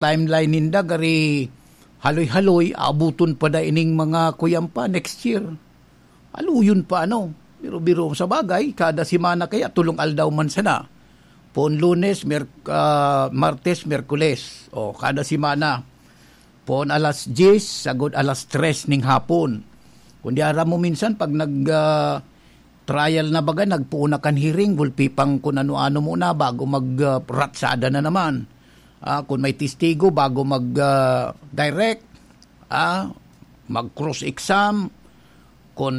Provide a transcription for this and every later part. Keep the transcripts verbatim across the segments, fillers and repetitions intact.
timeline ninda, gari haloy-haloy, abuton pa da ining mga kuyan pa next year. Haluyon pa, ano? Biro-biro. Sa bagay, kada semana kaya, tulong aldaw man sana. Poon Lunes, Mer-, ah, Martes, Miyerkules. O, kada semana. Poon alas diyes, sagod alas tres ning hapon. Kundi aram mo minsan, pag nag, ah, trial na baga, nagpoon na kan hearing, gulpi pang kun ano-ano muna bago mag, ah, ratsada na naman. Ah, kung may testigo, bago mag, ah, direct, ah, mag-cross-exam, kung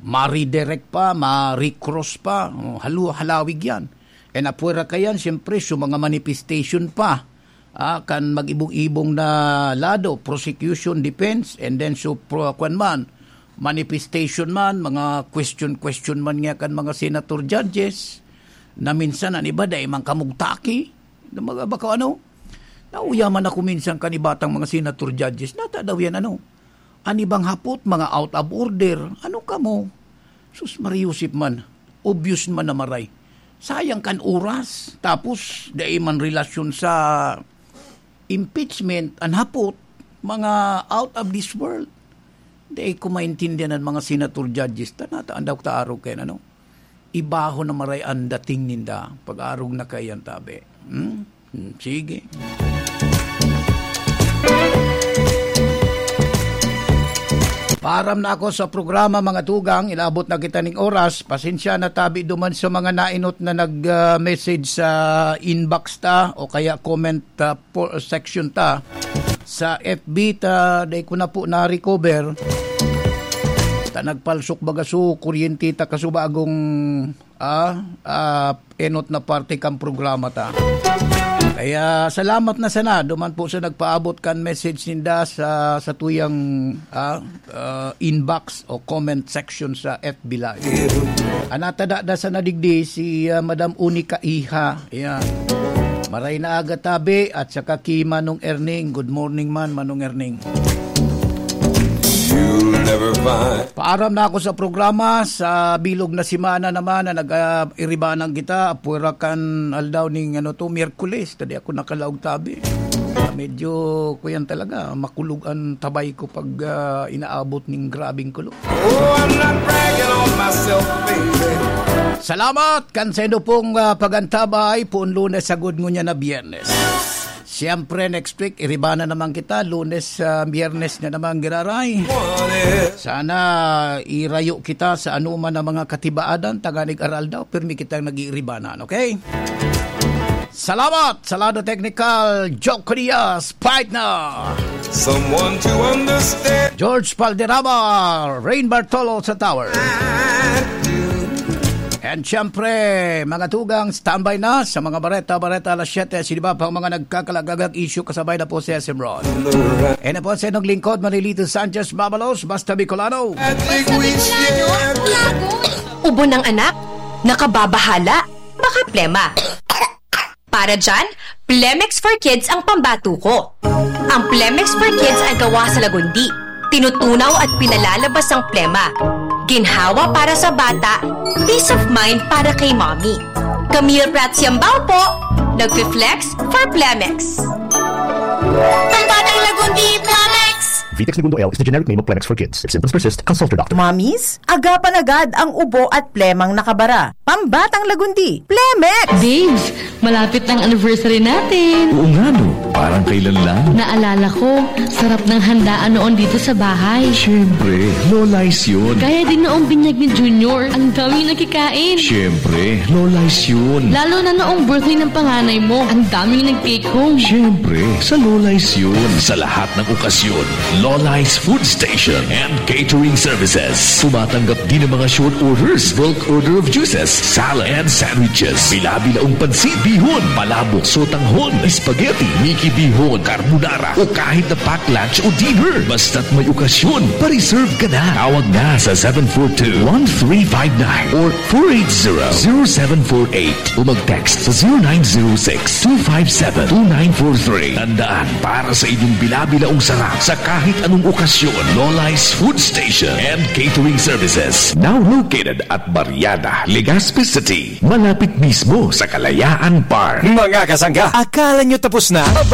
ma-redirect pa, ma-recross pa, oh, halu-, halawig yan. And apwera kayan, siyempre, so mga manifestation pa, ah, kan mag-ibong-ibong na lado, prosecution, defense, and then so, pro, kwan man, manifestation man, mga question-question man nga kan mga senator judges, na minsan an iba dai man kamugtaki, na mga baka ano, nauyaman ako minsan kan iba tang mga senator judges, nata daw yan ano, an ibang hapot, mga out of order, ano kamo? Sus, Mariusip man, obvious man na maray. Sayang kan oras, tapos dai man relasyon sa impeachment, an hapot, mga out of this world. Dai ko maintindihan an mga senator judges, ta nata an daw ta arog kay ano. Ibaho na maray an dating ninda, pag-arog na kaiyan tabi. Hmm? Hmm, sige. Paaram na ako sa programa, mga tugang. Inabot na kita ning oras. Pasensya na tabi duman sa mga nainot na nag, ah, message sa inbox ta o kaya comment, ah, po, section ta. Sa F B ta, dai ko na po na-recover. Ta nagpalsok baga so kuryente ta kasubagong, ah, ah, enot na parte kan programa ta. Kaya salamat na sana duman po sa nagpaabot kan message ninda sa, sa tuyang, ah, ah, inbox o comment section sa F B Live. An natada da sana digdi si, ah, Madam Unica Iha. Ayan. Maray na aga tabi at saka ki Manong Erning. Good morning man, Manong Erning. You'll never find. Paaram na ako sa programa. Sa bilog na semana naman na nag, ah, iribanan kita, apwera kan aldaw ning, ano to, Miyerkules. Tadi ako nakalaog tabi. Ah, medyo, kuyan talaga, makulog an tabay ko pag, ah, inaabot ning grabing kulog. Oh, I'm not bragging on myself, baby. Salamat kan saindo pong, ah, pagantabay, poon Lunes sagod ngunyan na Biyernes. Siyempre, next week, iriba na naman kita. Lunes, ah, Biyernes na naman, giraray. Sana irayo kita sa anuman na mga katibaadan, tanganing aral daw, pirmi kitang nag-iiribanan, okay? Salamat sa lado teknikal, Joe Curias, partner. Someone to understand. George Valderrama, Rain Bartolo sa Tower. And siyempre, mga tugang, standby na sa mga bareta-bareta alas siyete. Sino ba pang mga nagkakalagagag issue, kasabay na po si S M Ron. And po sa inyong lingkod, Manilito Sanchez Mabalos, Basta Bicolano. Basta Bicolano, Lagoy. Ubo ng anak, nakababahala, makaplema. Para dyan, Plemex for Kids ang pambato ko. Ang Plemex for Kids ay gawa sa lagundi, tinutunaw at pinalalabas ang plema. Ginhawa para sa bata, peace of mind para kay mommy. Camille Prats Yambao po, nagfi-flex for Plemex. Pambatang lagundi, Plemex! Vitex Negundo L is the generic name of Plemex for Kids. If symptoms persist, consult your doctor. Mommies, agapan agad ang ubo at plemang nakabara. Pambatang lagundi, Plemex! Babes, malapit na ang anniversary natin. Oo nga, no? Parang kailan lang. Naalala ko, sarap ng handaan noon dito sa bahay. Siyempre, Lola's yun. Gaya din noong binyag ni Junior. Ang daming nakikain. Siyempre, Lola's yun. Lalo na noong birthday ng panganay mo. Ang daming nag-take home. Siyempre, sa Lola's yun. Sa lahat ng okasyon, Lola's Food Station and Catering Services. Tumatanggap din ng mga short orders, bulk order of juices, salad, and sandwiches. Bila-bilaong pansit, bihon, palabok, sotanghon, spaghetti, Mickey bihon, carbonara, o kahit na pack lunch o dinner. Basta't may okasyon, pa-reserve ka na. Tawag na sa seven four two, one three five nine or four eight zero, zero seven four eight o mag-text sa zero nine zero six, two five seven, two nine four three. Tandaan, para sa inyong bila-bilaong sarap sa kahit anong okasyon, Lola's Food Station and Catering Services. Now located at Barriada, Legazpi City. Malapit mismo sa Kalayaan Park. Mga kasangga, akala nyo tapos na? Aba,